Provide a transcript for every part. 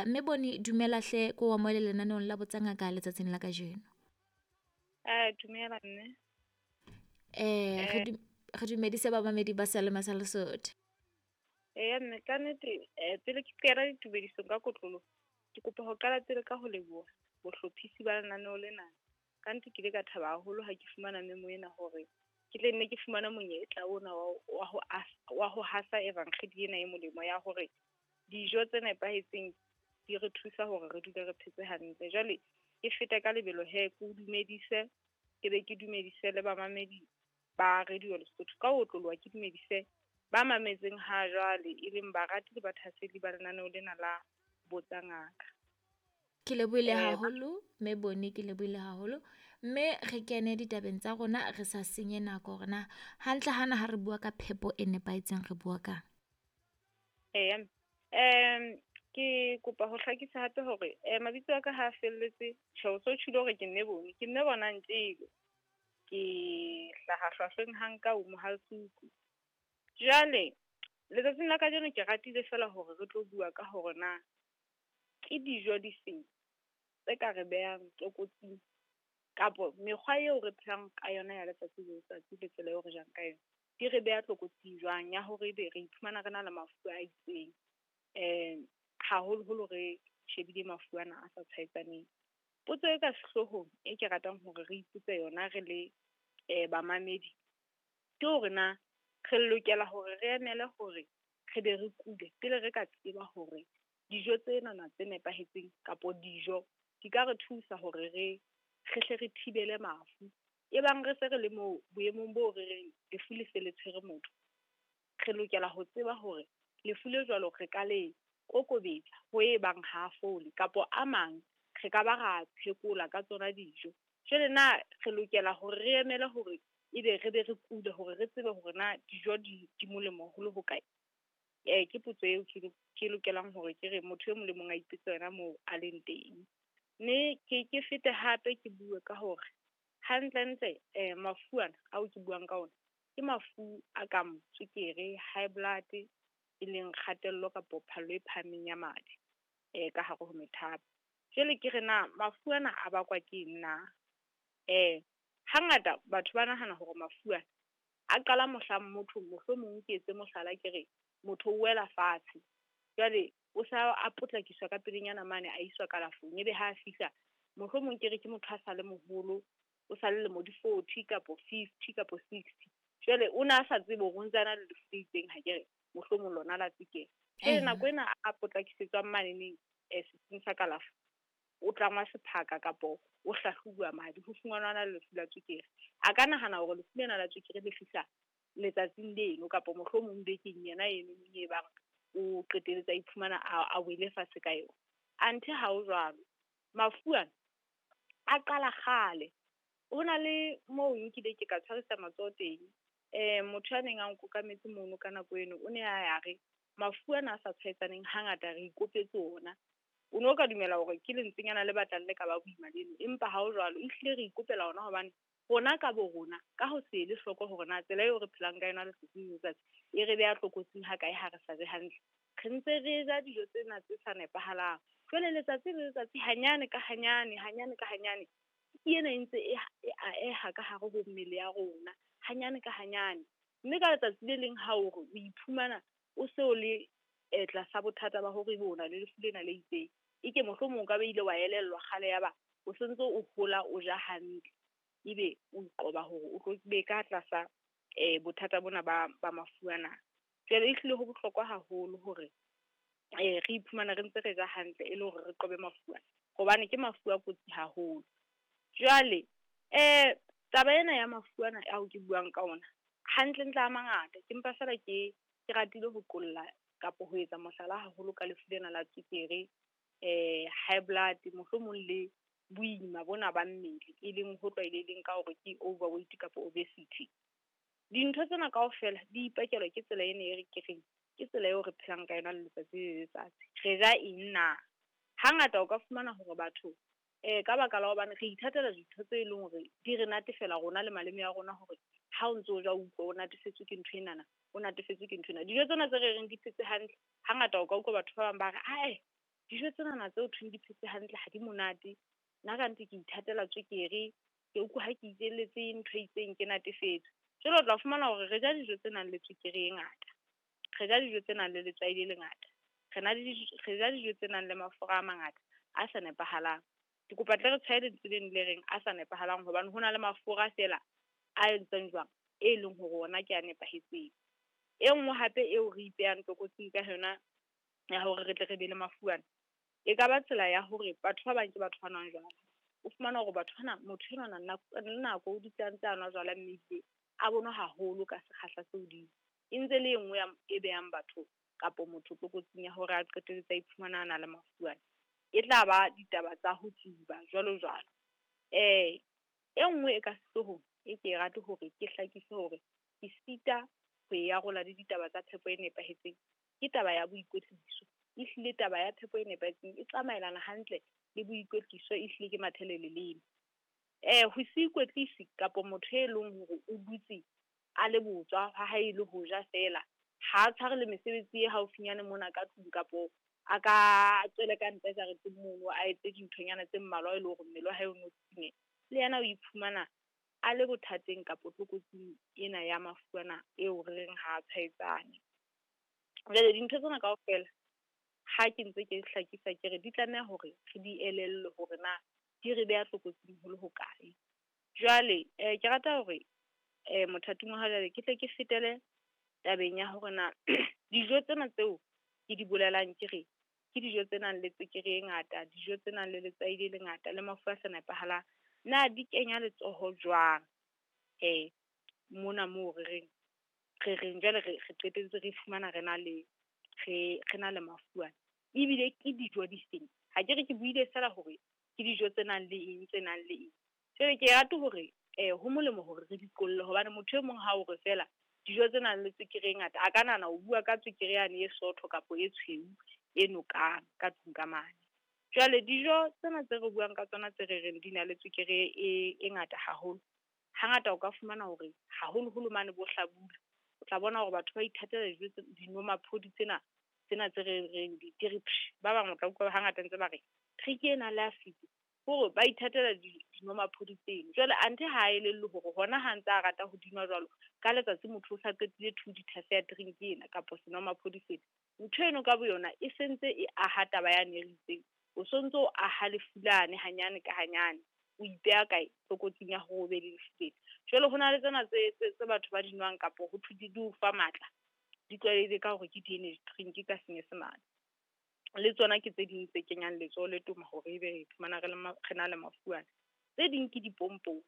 Mme Boni, dumela hle, ko amohele lenaneong la Botsa Ngaka letsatsing la kajeno. Dumela mme. Re dumedise bamamedi ba Sealema sa Lesotho. Eya mme, ka nnete pele ke kena ditumedisong ka kotloloho, ke kopa ho qala pele ka ho leboha bohlophisi ba lenaneo lena. Ka nnete ke ile ka thaba haholo ha ke fumana memo ena hore ke tle nne ke fumane monyetla ona wa ho hasa evankgedi ena e molemo ya hore dijo tse nepahetseng di re thusa hore re dule re phetse hantle. Jwale ke fete ka lebelo he, ke o dumedise, ke be ke dumedise le bamamedi ba Radio Lesotho. Ka ho otloloha ke dumedise ba mametseng ha jwale, e leng barati le bathasedi ba lenaneo lena la Botsa Ngaka. Ke lebohile haholo, mme Boni, ke lebohile haholo. Mme re kene ditabeng tsa rona re sa senye nako hore na hantle hana ha re bua ka phepo e nepahetseng re bua kang. Eya, ke kopa ho hlakisa hape hore mabitso a ka ha a felletse, tjhe o so tjholo hore ke mme Boni, ke mme Bonang Tjele. Ke hlaha hlwahlweng ha nka o Mohale'shoek. Jwale letsatsing la kajeno ke ratile fela hore re tlo bua ka hore na ke dijo di feng tse ka re behang tlokotsing kapo mekgwa eo re phelang ka yona ya letsatsi le letsatsi le tsela eo re jang ka yona di re beha tlokotsing jwang ya hore ebe re iphumana re na le mafu a itseng, haholoholo re shebile mafu ana a sa tshwaetsaneng. Potso e ka sehloohong e ke ratang hore re ipotse yona re le bamamedi ke hore na re lokela hore re emele hore re be re kule pele re ka tseba hore dijo tsenana tse nepahetseng kapo dijo di ka re thusa hore re hle re thibele mafu. Ebang re se re le moo boemong boo re reng lefu le se le tshwere motho, re lokela ho tseba hore lefu le jwalo re ka le kokobetsa ho e bang ha fole kapo a mang re ka ba ra phekola ka tsona dijo. Jwale na re lokela hore re emele hore ebe re be re kule hore re tsebe hore na dijo di molemo ho le hokae? Ke potso eo ke lokelang hore ke re motho e mong le mong a ipotse yona moo a leng teng. Mme ke fete hape ke bue ka hore hantlentle mafu ana ao ke buang ka ona ke mafu a kang tswekere, high blood, e leng kgatello kapo phallo e phahameng ya madi ka hare ho methapo. Jwale ke re na mafu ana a bakwa ke eng na? Hangata batho ba nahana hore mafu ana a qala mohlang motho, mohlomong ke etse mohlala ke re motho o wela fatshe, jwale o sa a potlakiswa ka pelenyana mane a iswa kalafong, ebe ha a fihla mohlomong ke re ke motho a sa le moholo, o sa le lemo di 40 kapo 50 kapo 60. Jwale o na sa tsebe hore o ntse a na le lefu le itseng, ha ke re mohlomong lona la tswekere. Jwale nako ena a potlakisetswang maneneng setsing sa kalafo, o tlangwa sephaka kapo o hlahlobuwa madi ho fumanwa na le lefu la tswekere. A ka nahana hore lefu lena la tswekere le fihla letsatsing leno kapo mohlomong bekeng yena eno e bang o qetelletse a iphumana a wele fatshe ka yona. Anthe ha ho jwalo, mafu ana a qala kgale. Ho na le moo nkile ke ka tshwarisa matsoho teng, motho a neng a nkokametse mono ka nako eno o ne a ya re mafu ana a sa tshwaetsaneng hangata re ikopetse ona. O no ka dumela hore ke lentswenyana le batlang le ka ba boima leno, empa ha ho jwalo, ehlile re ikopela ona hobane rona ka bo rona ka ho se ele hloko hore na tsela eo re phelang ka yona letsatsi le letsatsi e re beha tlokotsing ha kae ha re sa je hantle. Re ntse re ja dijo tsena tse sa nepahalang. Jwale letsatsi le letsatsi hanyane ka hanyane, hanyane ka hanyane, ke ena e ntse e aeha ka hare ho mmele ya rona, hanyane ka hanyane. Mme ka letsatsi le leng ha o re o iphumana o se o le tlasa bothata ba hore ebe o na le lefu lena le itseng, eke mohlomong o ka ba ile wa elellwa kgale ya ba o sentse o hola o ja hantle, ebe o qoba hore o tlo be ka tlasa bothata bona ba mafu ana. Jwale ehlile ho bohlokwa haholo hore re iphumana re ntse re ja hantle e le hore re qobe mafu ana, hobane ke mafu a kotsi haholo. Jwale taba ena ya mafu ana ao ke buang ka ona hantlentle a mangata, ke mpa fela ke ratile ho qolla kapo ho etsa mohlala haholo ka lefu lena la tswekere, high blood, mohlomong le boima bona ba mmele e leng ho tlwaelehileng ka hore ke overweight kapa obesity. Dintho tsena kaofela di ipakelwa ke tsela ena e re ke reng ke tsela eo re phelang ka yona letsatsi le letsatsi. Re ja eng na? Hangata o ka fumana hore batho ka baka la hobane re ithatela dintho tse leng hore di re natefela rona le maleme a rona hore ha o ntso o ja o utlwa o natefetswe ke ntho enana, o natefetswe ke ntho ena. Dijo tsena tse re reng di phetse hantle, hangata o ka utlwa batho ba bang ba re ae Dijo tsenana tseo thweng di phetse hantle ha di monate. Nna ka nnete ke ithatela tswekere, ke utlwa ha ke itjelletse ntho e itseng ke natefetswe. Jwale o tla fumana hore re ja dijo tse nang le tswekere e ngata, re ja dijo tse nang le letswai le lengata, re ja dijo tse nang le mafura a mangata a sa nepahalang. Ke kopa tle re tshwae lentswe leno le reng a sa nepahalang hobane ho na le mafura feela a entsweng jwang, e leng hore ona ke a nepahetseng. E nngwe hape eo re ipehang tlokotsing ka yona ya hore re tle re be le mafu ana, e ka ba tsela ya hore batho ba bang ke batho ba nwang jwala. O fumana hore batho bana, motho enwana nako le nako o dutse a ntse a nwa jwala mme ebile a bo nwa haholo ka sekgahla se hodimo. E ntse le e nngwe ya e behang batho kapo motho tlokotsing ya hore a qetelletse a iphumana a na le mafu ana. E tla ba ditaba tsa ho tsuba jwalo jwalo. E nngwe e ka sehloohong e ke e rate hore ke hlakise hore ke sita ho e arola le ditaba tsa phepo e nepahetseng, ke taba ya boikwetliso. Ehlile taba ya phepo e nepahetseng e tsamaelana hantle le boikwetliso, ehlile ke mathele leleme. Ho se ikwetlise kapo motho e leng hore o dutse a le botswa ha hae le ho ja feela, ha tshware le mesebetsi e haufinyane mona ka tlung kapo a ka tswele ka ntle jareteng mono a etse dinthonyana tse mmalwa e le hore mmele wa hae o no tsitsinyehe. Le yena o iphumana a le bothateng kapo tlokotsing ena ya mafu ana eo re reng ha tshwaetsane. Jwale dintho tsena kaofela ha ke ntse ke hlakisa ke re di tlameha hore re di elellwe hore na di re beha tlokotsing ho le hokae. Jwale ke rata hore mothating wa ha jwale ke tle ke fetele tabeng ya hore na dijo tsena tseo ke di bolelang ke re ke dijo tse nang le tswekere e ngata, dijo tse nang le letswai le lengata le mafu a sa nepahalang, na di kenya letsoho jwang mona moo re reng re reng jwale re qetelletse re fumana re na le re na le mafu ana. Ebile ke dijo di feng? Ha ke re ke buile feela hore ke dijo tse nang le eng, tse nang le eng. Jwale ke rate hore ho molemo hore re di qolle hobane motho e mong ha o re feela dijo tse nang le tswekere e ngata, a ka nahana o bua ka tswekere yane e sootho kapa e tshweu e nokang ka tlung ka mane. Jwale dijo tsena tse re buang ka tsona tse re reng di na le tswekere e ngata haholo, hangata o ka fumana hore haholoholo mane bo hlabula, o tla bona hore batho ba ithatela dijo tse dinomaphodi tsena tsena tse re reng di re psh, ba bang o tla utlwa hangata ntse ba re drink e nang le acid, hore ba ithatela dinomaphodi tseno. Jwale anthe ha elellwe hore hona ha ntsa rata ho di nwa jwalo, ka letsatsi motho o sa qetile 2 liters ya drink ena kapo senomaphodi sena. Ntho eno ka boyona e sentse e aha taba yane e re itseng, o sontso o aha lefu lane hanyane ka hanyane, o ipeha kae tlokotsing ya hore o be le lefu lena. Jwale ho na le tsena tse batho ba di nwang kapo ho thwe di o fa matla, di tlwaelehile ka hore ke di-energy drink ka senyesemane. Le tsona ke tse ding tse kenyang letsoho le toma hore ebe re iphumana re na le mafu ana. Tse ding ke dipompong.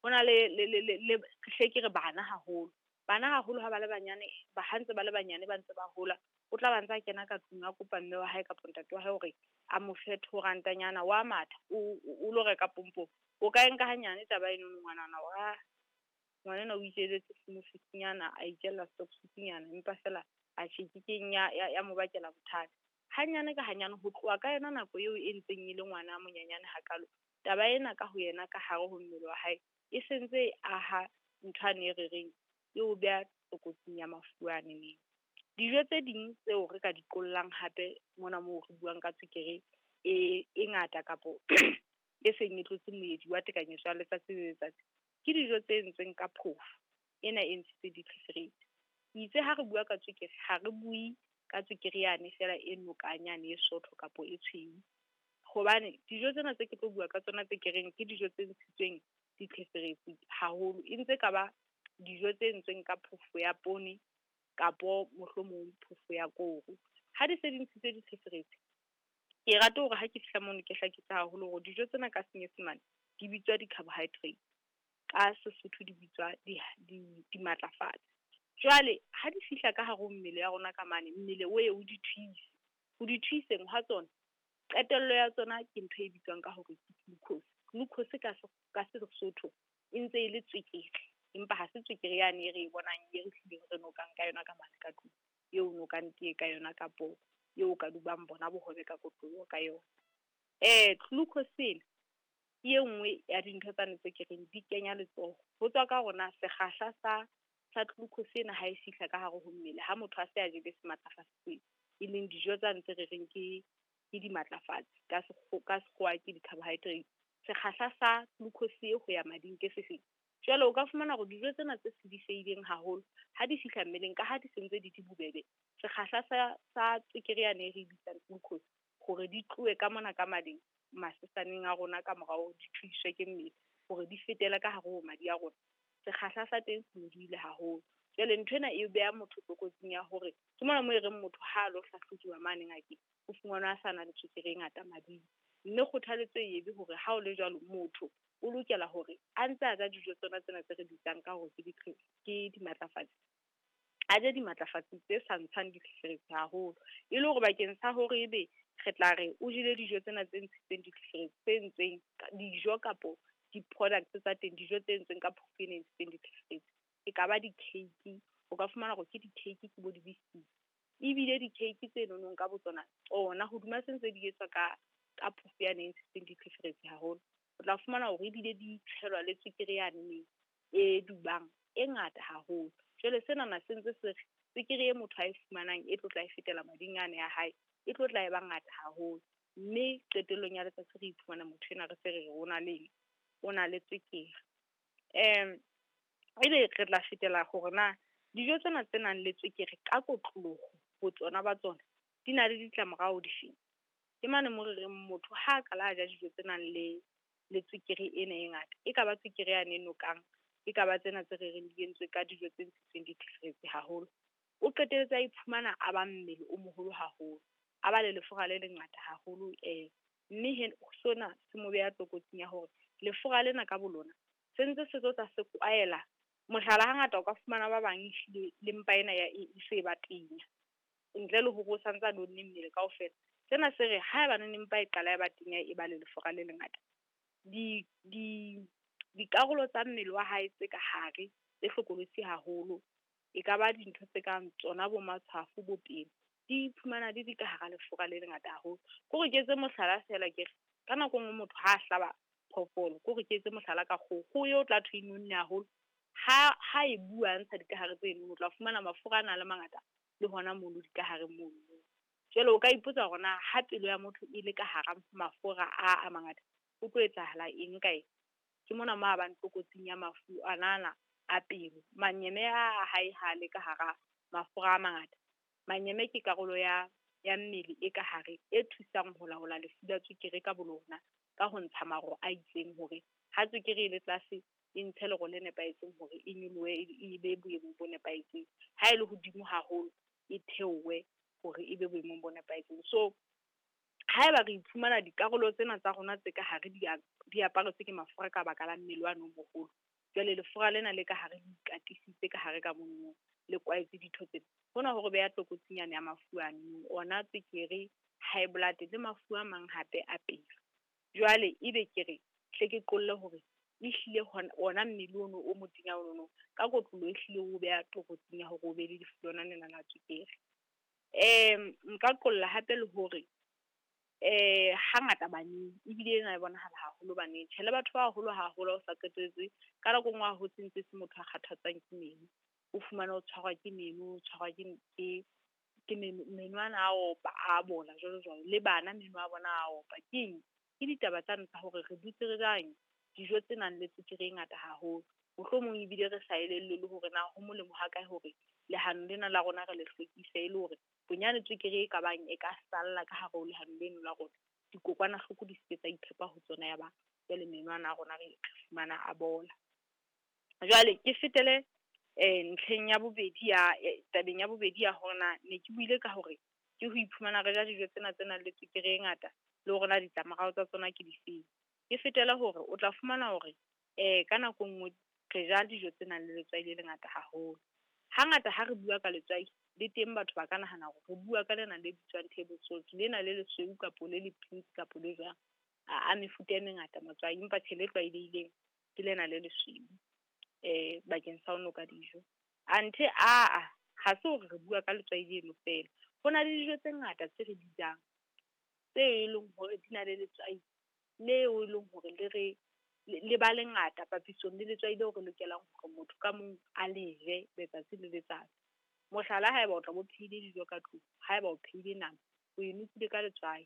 Ho na le hle ke re bana haholo. Bana haholo ha ba le banyane, ba ha ntse ba le banyane ba ntse ba hola, o tla ba ntsa kena ka tlung a kopa mme wa hae kapa ntate wa hae hore a mo fe 2 rantanyana wa matha o lo reka pompong. O ka e nka hanyane taba eno ngwanana wa ngwanana o itjelletse smoothie-nyana, a itjella stock-nyana empa feela a tjhe keng ya mo bakela bothata. Hanyane ka hanyane ho tloha ka yona nako eo e ntseng e le ngwana a monyenyane hakalo, taba ena ka ho yena ka hare ho mmele wa hae e sentse e aha ntho ane e re reng e o beha tlokotsing ya mafu ane. Dijo tse ding tseo re ka di qollang hape mona moo re buang ka tswekere e ngata kapo e seng e tlotse moedi wa tekanyetso ya letsatsi le letsatsi, ke dijo tse entsweng ka phofo ena e ntshitswe ditlheferetsi. Itse ha re bua ka tswekere ha re bue ka tswekere yane feela e nokang yane e sootho kapo e tshweu, hobane dijo tsena tse ke tlo bua ka tsona tse ke reng ke dijo tse ntshitsweng ditlheferetsi haholo, e ntse ka ba dijo tse entsweng ka phofo ya poone kapo mohlomong phofo ya koro. Ha di se di ntshitswe ditlheferetsi, ke rata hore ha ke fihla mono ke hlakise haholo hore dijo tsena ka senyesemane di bitswa di-carbohydrates, ka Sesotho di bitswa dimatlafatsi. Jwale ha di fihla ka hare ho mmele ya rona ka mane, mmele o ye o di thuise. Ho di thuiseng ha tsona, qetello ya tsona ke ntho e bitswang ka hore ke glucose. Glucose ka Sesotho e ntse e le tswekere, empa ha se tswekere yane e re e bonang e re hlileng re nokang ka yona ka mane ka tlung, eo nokang tee ka yona kapo eo ka dubang bona bohobe ka kotloloho ka yona. Glucose ena ke e nngwe ya dintho tsane tse ke reng di kenya letsoho. Ho tswa ka hore na sekgahla sa glucose ena ha e fihla ka hare ho mmele ha motho a se a jele sematlafatsi, e leng dijo tsane tse re reng ke ke dimatlafatsi, ka sekgowa ke di-carbohydrates. Sekgahla sa glucose e ho ya mading ke sefeng? Jwale o ka fumana hore dijo tsena tse sediseileng haholo ha di fihla mmeleng, ka ha di sentse di di bobebe, sekgahla sa tswekere yane e re bitsang glucose hore di tlohe ka mona ka mading masesaneng a rona ka morao di thuiswe ke mmele hore di fetele ka hare ho madi a rona, sekgahla sa teng se nyolohile haholo. Jwale nthwena e beha motho tlokotsing ya hore ke mona mo e reng motho ha a lo hlahlojuwa mane ngakeng, o fumanwa a sa na le tswekere e ngata mading. Mme kgothaletso e ebe hore ha o le jwalo motho o lokela hore a ntse a ja dijo tsona tsena tse re bitsang ka hore ke dimatlafatsi, a je dimatlafatsi tse sa ntshang ditlheferetsi haholo, e le hore bakeng sa hore ebe re tla re o jele dijo tsena tse ntshitseng ditlheferetsi, tse entsweng dijo kapo di-products tsa teng, dijo tse entsweng ka phofo e ntshitseng ditlheferetsi, e ka ba di-cake, o ka fumana hore ke di-cake ke bo di-biscuits, ebile di-cake tse nonong ka botsona tsona hodima se ntse di etswa ka phofo yane e ntshitseng ditlheferetsi haholo, o tla fumana hore ebile di tshelwa le tswekere yane e dubang e ngata haholo. Jwale sena se ntse se re tswekere e motho a e fumanang e tlo tla e fetela mading ane a hae, e tlo tla e ba ngata haholo, mme qetellong ya letsatsi re iphumana motho ena re se re o na le eng, o na le tswekere. Ebe re tla fetela hore na dijo tsena tse nang le tswekere ka kotloloho botsona ba tsona di na le ditlamorao difeng. Ke mane mo re reng motho ha a qala a ja dijo tse nang le tswekere ena e ngata, e ka ba tswekere yane e nokang, e ka ba tsena tse re reng di entswe ka dijo tse ntshitsweng ditlheferetsi haholo, o qetelletse a iphumana a ba mmele o moholo haholo, a ba le lefura le lengata haholo, mme sona se mo beha tlokotsing ya hore lefura lena ka bolona se ntse se tlo tla se kwaela. Mohlala, hangata o ka fumana ba bang ehlile le mpa ena ya e se ba tenya, ntle le hore o santsa nonne mmele kaofela. Sena se re haeba neng mpa e qala e ba tenya e ba le lefura le lengata, dikarolo tsa mmele wa hae tse ka hare tse hlokolosi haholo, e ka ba dintho tse kang tsona bo matshwafo, bo pelo, di iphumana di di ka hara lefura le lengata haholo. Kore ke etse mohlala feela ke re ka nako e nngwe motho ha a hlaba phoofolo, kore ke etse mohlala ka kgoho, kgoho eo tla thwe e nonne haholo, ha e bua ntsha dikahare tseno, o tla fumana mafura a na le mangata le hona mono dikahareng mono. Jwale o ka ipotsa hore na ha pelo ya motho e le ka hara mafura a mangata, ho tlo etsahala eng ka eng? Ke mona mo a bang tlokotsing ya mafu anana a pelo. Manyeme a hae ha le ka hara mafura a mangata. Manyeme ke karolo ya mmele e ka hare e thusang ho laola lefu la tswekere ka bolona ka ho ntsha maro a itseng hore ha tswekere e le tlase e ntshe lero le nepahetseng hore e nyolohe e be boemong bo nepahetseng. Ha e le hodimo haholo e theohe hore e be boemong bo nepahetseng. So haeba re iphumana dikarolo tsena tsa rona tse ka hare di aparetswe ke mafura ka baka la mmele wa no moholo, jwale lefura lena le ka hare le ikatisitse ka hare ka mono, le kwaetse ditho tsena, hona hore beha tlokotsing yane ya mafu ano, ona tswekere, high blood le mafu a mang hape a pelo. Jwale ebe ke re hle ke qolle hore ehlile ona mmele ono o motenya ono ka kotlolo ehlile o beha tlokotsing ya hore o be le lefu lona lena la tswekere. Nka qolla hape le hore hangata baneng ebile ena e bonahala haholo baneng, tjhe le batho ba baholo haholo o sa qetelletse ka nako e nngwe a hotse ntse se motho a kgathatswang ke meno, o fumana o tshwarwa ke meno, o tshwarwa ke meno ana a opa, a bola jwalo jwalo, le bana meno a bona a opa. Keng? Ke ditaba tsane tsa hore re dutse re jang dijo tse nang le tswekere e ngata haholo, mohlomong ebile re sa elellwe le hore na ho molemo ha kae hore lehano lena la rona re le hlwekise, e le hore bonyane tswekere e ka bang e ka salla ka hare ho lehano leno la rona, dikokwanahloko di se ke tsa iphepa ho tsona, ya ba jwale meno ana a rona re fumana a bola. Jwale ke fetele ntlheng ya bobedi ya tabeng ya bobedi ya hore na ne ke buile ka hore ke ho iphumana re ja dijo tsena tse nang le tswekere e ngata le hore na ditlamorao tsa tsona ke difeng. Ke fetele hore o tla fumana hore ka nako nngwe re ja dijo tse nang le letswai le lengata haholo. Hangata ha re bua ka letswai le teng batho ba ka nahana hore re bua ka lena le bitswang table salt, lena le lesweu kapo le le pink kapo le jwang, a mefuta e mengata matswai, empa tjhe le tlwaelehileng ke lena le lesweu bakeng sa ho noka dijo. Anthe aa ha se hore re bua ka letswai leno fela, ho na le dijo tse ngata tse re di jang tse e leng hore di na le letswai leo e leng hore le re le ba lengata papisong le letswai leo re lokelang hore motho ka mong a le je letsatsi le letsatsi. Mohlala, haeba o tla bo phehile dijo ka tlung, haeba o phehile nama, o e nokile ka letswai,